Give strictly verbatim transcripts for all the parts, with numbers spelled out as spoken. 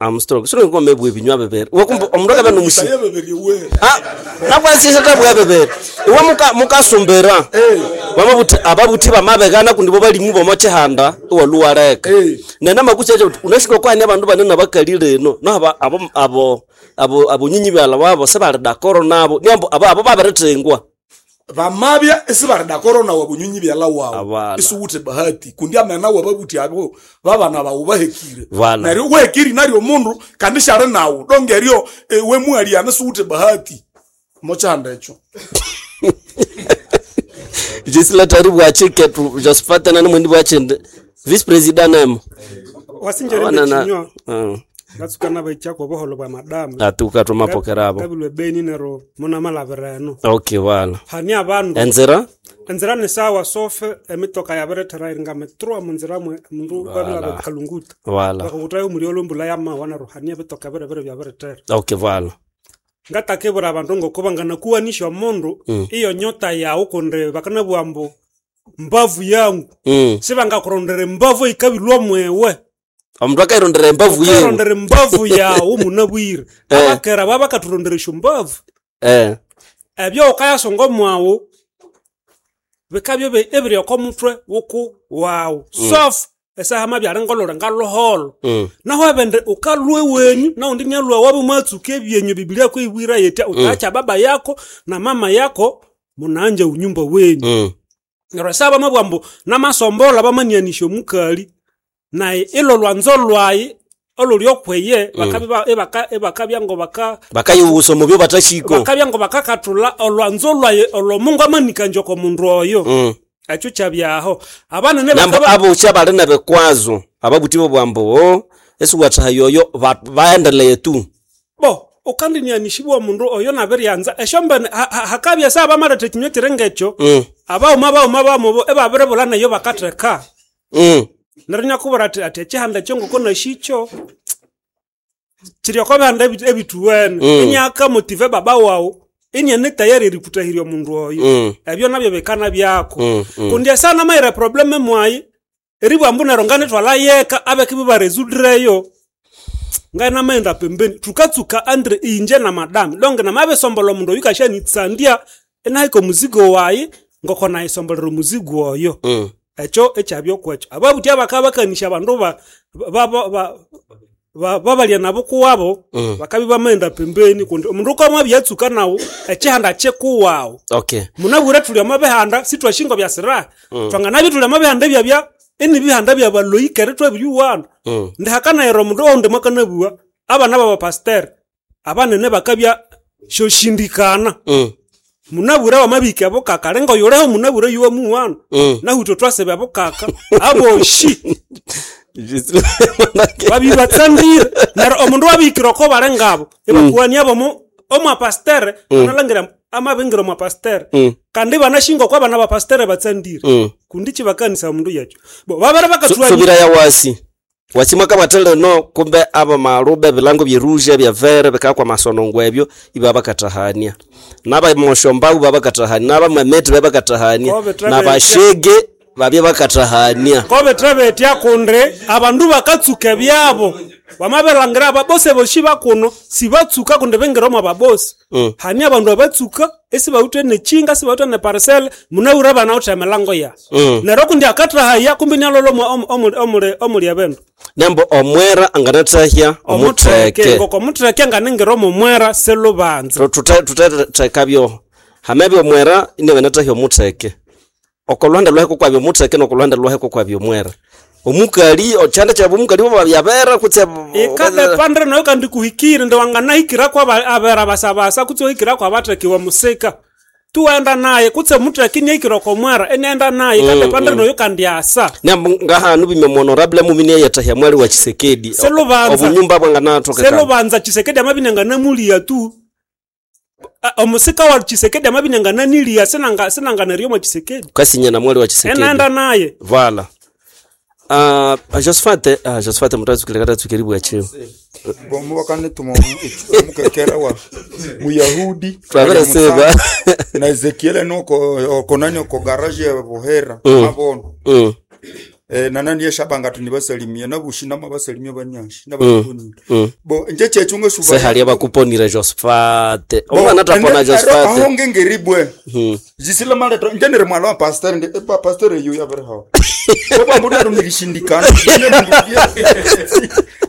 Armstrong sino ngomebwa ebinywa bibiri wakumba omundu akabya nomusi Itaye bibiri we Ah, nakwasisa tabwa bibiri iwe muka mukasumbira wamabuthi ababuthi bamabegana kundi bo balimu bomo chihanda iwaluwareka Eh. nena makuchacha uti unashika kwani abandu banene abakalire eno no aba abo abo abo abonyinyi byala wabo sebali dakoro nabo niambo abo abo babirithingwa vamabya esibari dakoro wa bunyunyi byala wawu Abala. isuwuthe bahati kundi amena wababuthi abo babana bawu bahekire Vala. neryo wehekiri naryo omundu kandi syali nawu donge eryo eh, wemuhaliana siwuthe bahati mochihanda ekyo jisilatari bwachike tu Josephat nani mwendi bwachinde vice president nemo wasinjere Abana na- nekinywa Mm. ngatsuka nabaikyako obuholo bwa madamu atuka twamapokera abo kabilwe beni nero munamalabira eno okay wala hani abandu enzira enzira ni sawa sofe emitoka yabirethera iri ngamitrwa munzira mwe mundu babilaba kalunguta wala bakakutayo omuli olumbula yamawa nero hani ebitoka birebire byabirethera okay wala ngatakebura abandu ngoko banganakuwanisha omundu iyo nyota yawu kundi bakanabugha mbu mbavu yangu mm. sibangakurondera embavu eyikabilwa mwewe omundu akairondera embavu yewe ukarondera embavu yawu munabwire abakera baba bakaturondera mbavu eh ebyo ukayasonga mwawu bikabya ebi- ebiri oko mutwe wuku wawu sofu esaha mabyali ngolole ngaluholo mm. naho ebende ukalwe wenyu naundi nyalwa wabu mwatsuka ebyenyu biblia kwibwira yetya utaacha baba yako na mama yako munaanja unyumba wenyu Mm. neryo saba mabwa mbu namasombola bamanianisha omukali naye ilo lwanzo lwayi oluli okweye bakabya ebaka- ebakabya ngo baka bakayiwusa omubyo batashiko bakabya ngo bakakathula olwanzo lwaye olwo mungu amanikanje oko mundu oyo mm. ekyo kyabyaho abanene nambo bakaba abuchi abali nebikwazo ababuthi bobwambo o esiwathaha yoyo ba- baendeleye tu bo ukandinianishibwa omundu oyo nabiryanza esyombene ha- ha- hakabya sa bamaletha ekinywa kiringa ekyo mm. abaghuma baghuma bamubo ebabiribulha neyo bakatheka mm. neryo nyakubwira athi athi ekihanda ekyo ngoko nashikyo kiri oko bihanda ebi- ebithuwene Mm. inyaka motive baba wawu inyene tayari erikutahirya omundu oyo Mm. ebyo nabyo bikana byako Mm, mm. kundi esana mayira probleme mwayi eribwa mbu neryo nganithwala yeka abekibi barezudireyo nganamaghenda pembeni thukatsuka andre inje na madami donge namabisombola omundu oyu kashanitsandya inahika omuzigo wayi ngoko nayisombolera omuzigo oyo Mm. ekyo ekyabyokwekyo ababuthi abakaba bakanisha abandu ba- ba- ba- ba- ba- babalya nabo kuwabo Mm. bakabi bamaghenda pembeni kundi omundu ukamwabyatsuka nawu ekihanda kyikuwawu okay munabwire thuli omo bihanda sithwashingo bya siraha thwanganabya thuli omo bihanda ebyabya enibihanda byabaloyikere thwabiriwana mm. ndihakanayira omundu oundi mwakanabuwa abana babapasiteri abanene bakabya shoshindikana Mm. munabwire wamabika ebukaka lenga oyuleho munabwire yuwa muwana Mm. nahutwe twasiba ebukaka aboshi babibatsandire neryo omundu wabihikire oko bali ngabo ibakuwania bomu omwapastere analangira amabingira omwapastere Mm. kandi banashinga oko abana bapastere batsandire Mm. kundi kibakanisa omundu yakyo bo babere Su- bakathuania subira ya wasi wasi mwakabathele no kumbe aba maluba ebilango byeruje byavere bikakwa masonongo ebyo iba bakathahania nabamoshombawu babakathahania nabamwemeti babakathahania Kobe trabe- nabashege babye bakathahania kobetre betya kundi abandu bakatsuka ebyabo wamabilangira ababosi boshi bakuno sibatsuka kundi bingira omwa babosi Mm. hani abandu abatsuka esibawithe nekinga sibawithe neparisele munabwire banawithe emilango ya Mm. neryo kundi akathahaya kumbi nialolwa omuli omuli ebindu nembo omwera anganathahya omutheke ngoko omutheke nganingira omumwera silubanza tuthekabyo hamebya omwera inabanathahya omutheke okolwanda lwaheko kwabya omutheke nokolwanda lwaheko kwabya omwera omukali ochanda kyabwe omukali wabyabera kutse ikadepandre nayo kandi kuhikire ndi wanganahikirako aba- abera basabasa kutse ohikirako abathekiwa musika tuwenda naye kutse mutheke iniahikire okomwera inienda naye ikadepandre nayo kandi asa nembo ngahanu bimwe honorable mumini yethahya mwali wa Chisekedi Selubanza. obunyumba bwanganatokekana selubanza chisekedi amabinyanganamulya tu A- omusika wa chisekedi amabinyangananilya sinanga sinanganeryo mwa chisekedi kasinya na mwali wa Chisekedi enaenda naye vala uh, Josephat uh, Josephat mutazukile katatsukiri bwachiwo bomu bakanituma omukekera wa muyahudi Twabere seba. na ezekiele noko okonani oko garage ya buhera Mm. mabona mm. Eh, nanani yeshabanga tunibasalimia nabushi namabasalimia banyashi nabakuponire Mm. bo nje chechu ngesuba Sehali abakuponire Josephat. Bo, Omwana tapona ende- ero Josephat. aho ngengeribwe Mm. jisila maleto nje niri mwala wa pastor ndi pa pastor eyo yabere hawo bo mbu nero nilishindikana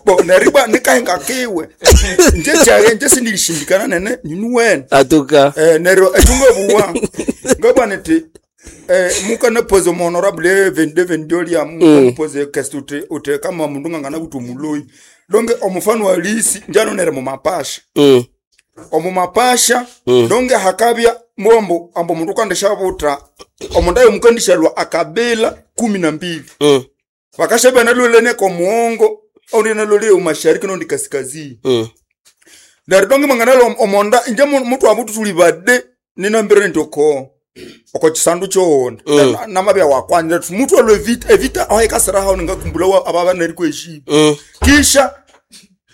bo neriba nikahenga kiwe nje chaye nje sinilishindikana nene ninuwene Atuka. eh nero echunga buwa ngabwa niti eh muka nepoze mu honorable vende vendolia muka nepoze kest ute ute kama mundu ngangana kuti muloi donge omufano wa lisi njano nere mu mapasha Mm. omu mapasha donge hakabya mombo ambo mundu kandisha buta omundu ayo mukandishalwa akabila kumi na mbili Mm. vakashabya nalolene komuongo ondi nalole umashariki nondi kaskazini Mm. neryo donge mwanganalo omonda inje mu- mutu wabutu tuli bade ninambire nti oko oko chisandu choonda mm. namabya wakwanira tu mutu alwe vita evita awaikasira hao ningakumbula wa ababa neri kweshiba Mm. kisha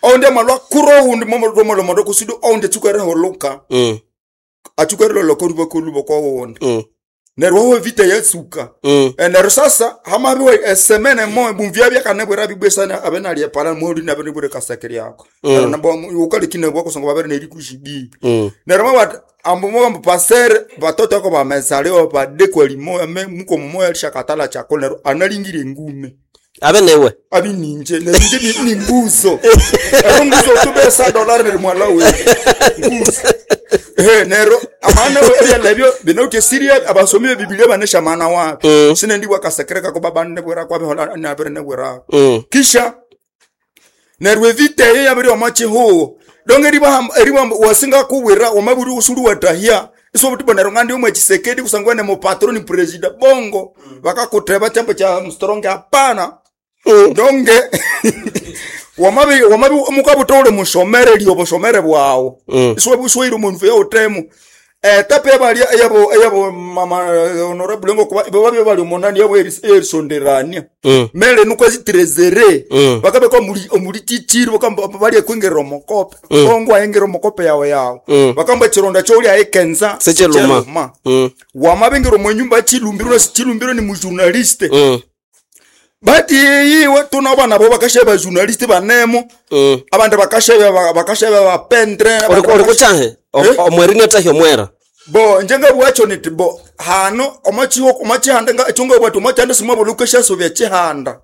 onde malwa kuro undi momolomolomondo kusudu onde tsukere holuka Mm. atsukere loloko ruba koluba kwa wonde Mm. neryo wawe vita yatsuka Mm. Eh, neryo sasa hamabiwe esemene mo bumvya byakanebwera bibwesana abenalie pala moli nabenebwere kaseke lyako neryo nabo ukalikine bwako songo babere neri kushibi Mm. neryo mabati ambo mbo pasere batoto ako bamezaliwa badekwa limoya me muko mumoya lishakatala chako neryo analingire ngume Abe newe. abi ninje neryo nje ni, ni nguzo ero nguzo tubesa dolari neri mwala we nguzo eh nero amana ebyalebyo binauti siria abasomi be Biblia banesha mana wapi Mm. sine ndibwa kasekereka ko babane bwera kwabe hola nabere nebwera Mm. kisha nerwe vita ye yabiri omachihuwo donge riba riba wasinga kuwira wamaburi usulu watahia iso buti bonero ngandi umwe Chisekedi kusangwa ne mupatroni president bongo bakakuteba chambo cha mstronge hapana donge wamabi wamabi mukabutole mushomere lyo bushomere bwawo Mm. iso buswire umuntu ya utemu eh tape bali yabo yabo mama eh, honorable ngo kuba babe bali umunani yabo erisonderania Mm. mele nuko zitrezere Mm. bakabe ko muri omuri titiri bakamba bali kwingera omukope ongo ayengera omukope yawe yawe Mm. bakamba chironda choli ayekenza Secheluma. Mm. wamabengera omwenyumba chilumbiro na chilumbiro ni mujournaliste Mm. bati yiwe tuna bana bo bakashe ba journaliste banemo Mm. abandi bakashe bakashe ba pendre Ori ori kuchahe. Eh? Omweri netahi omwera. bo njenga bwacho niti bo hano omachiwo omachihanda nga chunga bwati omachihanda simwa bolukesha sobya chihanda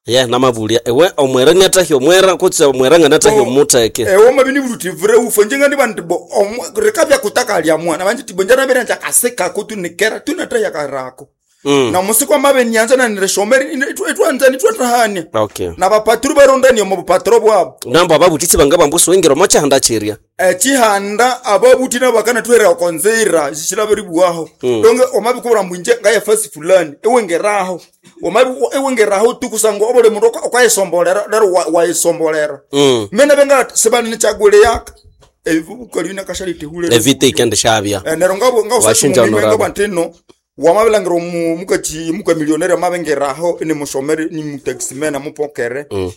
Ye namabulia. Ewe omwera netahi omwera kutse omwera nganetahi Bo, omuteke. ewo mabini buluti vure ufo njenga ndi bantu bo omwe- reka bya kutaka lya mwana banje tibo njana bere nja kaseka kutu nikera tunata yakarako Mm. na musiku amabe nyanza na nireshomeri itwanza nitwatahania Okay. na bapaturu barondani omu bupaturo bwabo Nambo ababutitsi banga bambusu wingira omochihanda chiria. echihanda ababuti nabo bakanatwera okonzera zishilaberibuwaho mm. donge omabikubura mbwinje ngaye fasi fulani ewengeraho omabi ewengeraho tukusango obole mundu oka- okayisombolera lero wa- wayisombolera Mm. mena benga sebani nichagule yaka ebibukali nakashalite Evita ikende shabya. Eh, nero ngabo Washinja honorable. ngabo ntino wamabilangira omu mukachi muka millionaire amabengeraho ni mushomeri ni mutaximan amupokere Mm.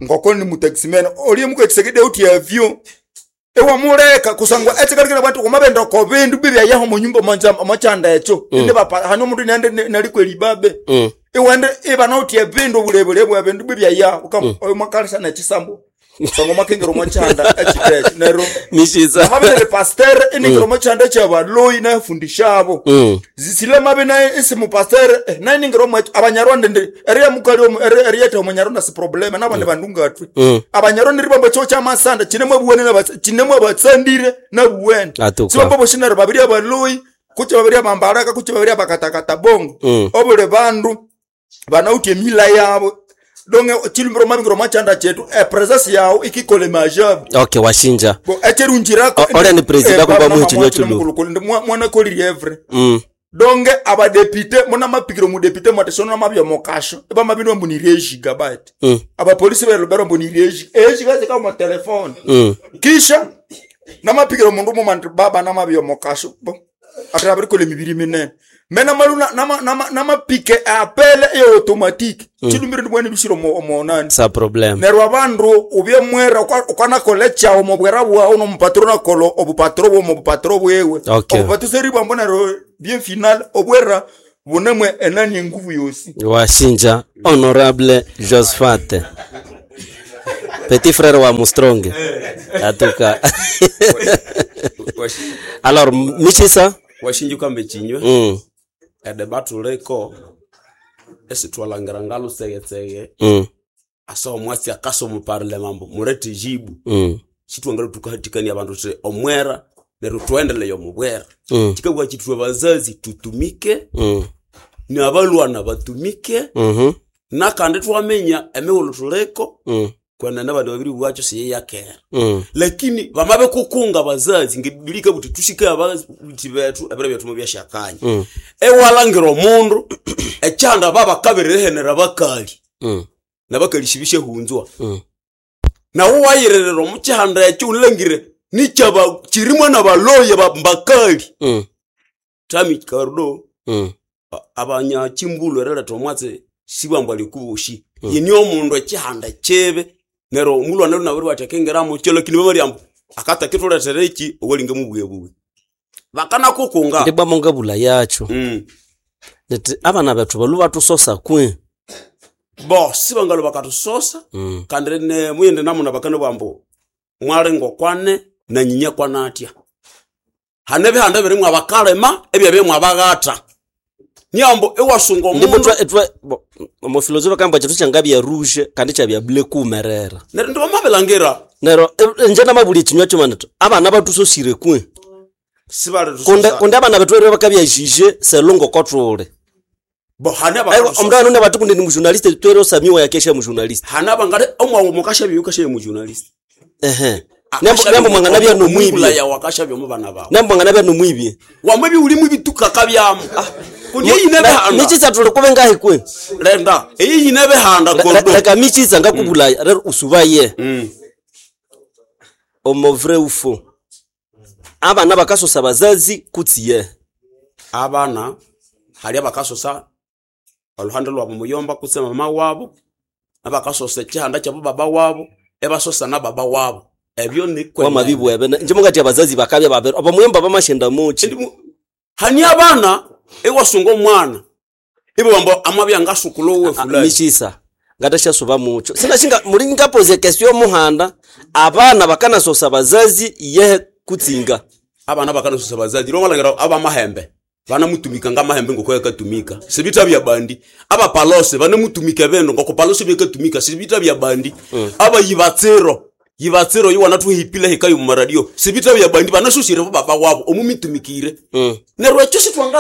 ngoko ni mutaximan oli mukachisekede uti avyo ewamuleka kusangwa etsekarikira bantu kumabenda ko bindu bibya yaho mu nyumba manja machanda echo mm. bapa hano mundu nende nali kweli babe Mm. iwende iba nauti ebindu bulebule bwa bindu bibya ya ukam mm. omakalisa na chisambo sango makengero machanda echitecho nero Mishiza. mabele pasteur iningiro machanda chabaloi na fundishabo Mm. zisile mabe naye isimu pasteur eh, naye ningiro mwacho abanyarwanda ndi eriya mukali omu eriyete omunyarwanda si problema nabandi bandu ngatwe Mm. abanyarwanda ribamba cho chamasanda chinemwe buwene na chinemwe batsandire na buwene Atuka. sibamba boshinare babiri abaloi kuche babiri abambaraka kuche babiri abakatakata bongo Mm. obule bandu banautie mila yabo donge chilumbiro mabingiro machanda chetu e presence yawo ikikole majabu Okay, washinja. bo echerunjirako O- olya ni president akuba muhichinywa chulu. mwana kolirievre Mm. donge abadepite muna mapikiro mudepite mwatesona mabya mokasho eba mabino mbunirie gigabyte Mm. abapolisi belubero mbunirie egiga zika mu telefone Mm. kisha namapikiro mundu mumanti baba namabya mokasho bo ate abirikole mibiri minene mena maluna nama nama namapike apele e automatique mm. chilumbiro ndibwene bishiro mo monani Sa problem. neryo abandu ubye mwera ukanakola ekyawo mubwera bwawu nomupatro nakola obupatro bwo mubupatro bwewe Okay. obupatro seribwambo neryo bien final obwera Bunamwe enani enguvu yosi. Washinja honorable Josephat. Petit frère wa Mustronge. Atuka. Alors Michisa. Washinja ukambe chinywe Mm. edeba tuliko esitwalangira ngalusegetsege Mm. asa omwasi akasa omuparlema mbu murete jibu Mm. chitwangala tukahatikania abandu tuti omwera neryo tuendeleye omubwera Mm. chikabwa chitwe bazazi tutumike Mm. nabalwana batumike Mhm. nakandi twamenya emighulhu tuliko Mm. kwenene abandu babiri bwacho siyeyakera Mm. lakini bamabikukunga bazazi ngebiblia ikabuti tushike ababuti bethu ebiro byethu mubyashakanya Mm. ewalangira omundu ekyanda babakabirihenera bakali Mm. nabakali shibishahunzwa Mm. nawe wayirerera omukyihanda ekyo ulangire nikyaba kirimwa nabaloya bambakali Mm. tami karudo Mm. abanyachimbulu erileta omwatsi sibwambwa likubushi mm. yeni omundu ekihanda kibi neryo omulwana lunabiri bati akingiramo kyo lakini babalyambu akatakithuletera eki owalinga mubwebuwe bakanakukunga Ndibwa mongabula yacho. mm. Nti abana bethu balu batusosa kwe. bo sibangalo bakatusosa Mm. kandi ne muyende namuna bakana bwambu mwalingo kwane na nyinya kwanatya hane bihanda birimwe abakalema ebyabye abaghata nyambo ewasunga Ndibwa omundu twa twa bo, omufilosofa kamba chethu kyangabya rouge kandi kyabya bleu kumerera. neryo ndibamabilangira Nero eh, nje namabulya ekinywa kyuma nti abana batusosire kwe. sibali Kunde kunde abana bethu rero bakabya jije selongo kotule. bo hane Aiwa abakatusosa omndu anone bati kunde ni mujournaliste twere osamiwa yakesha mujournaliste. hane abangale omwawu mukashabya ukashabya mujournalist Ehe. Nembo nembo mwangana bya nomwibye. yawe akashabya mu bana bawe Nembo mwangana bya nomwibye. wamwe biwulimu ibitukaka byamu kundi eyine bihanda Michisa tuli kube ngahi kwe. lenda eyine bihanda kordo Leka michisa ngakubulaya rero usubaye. Mm. Omo vrai ou faux. Abana bakasosa bazazi kutsiye. abana hali abakasosa oluhande lwabu muyomba kutse mama wabo abakasosa ekihanda kyabo baba wabo ebasosa na baba wabo ebyo Wamabibwebe njimungati abazazi bakabya babere. Abamuyomba bamashenda muchi. nikwenene hani abana ewasunga omwana ibabamba amabya ngasukula owe fulani Michisa ngatashasuba mucho. Sinashinga muli ngapoze kesyo muhanda abana bakanasosa bazazi yehe kutsinga. abana bakanasosa bazazi lomalangira abamahembe banamutumika ngamahembe ngokwekatumika sibita bya bandi abapalose banamutumika beno ngokupalose byekatumika sibita bya bandi mm. aba yibatsiro yibatsiro yiwana tuhipile hikayo mu radio sibita bya bandi banasosire bo baba wabo omumitumikire Mm. neryo ekyo sitwanga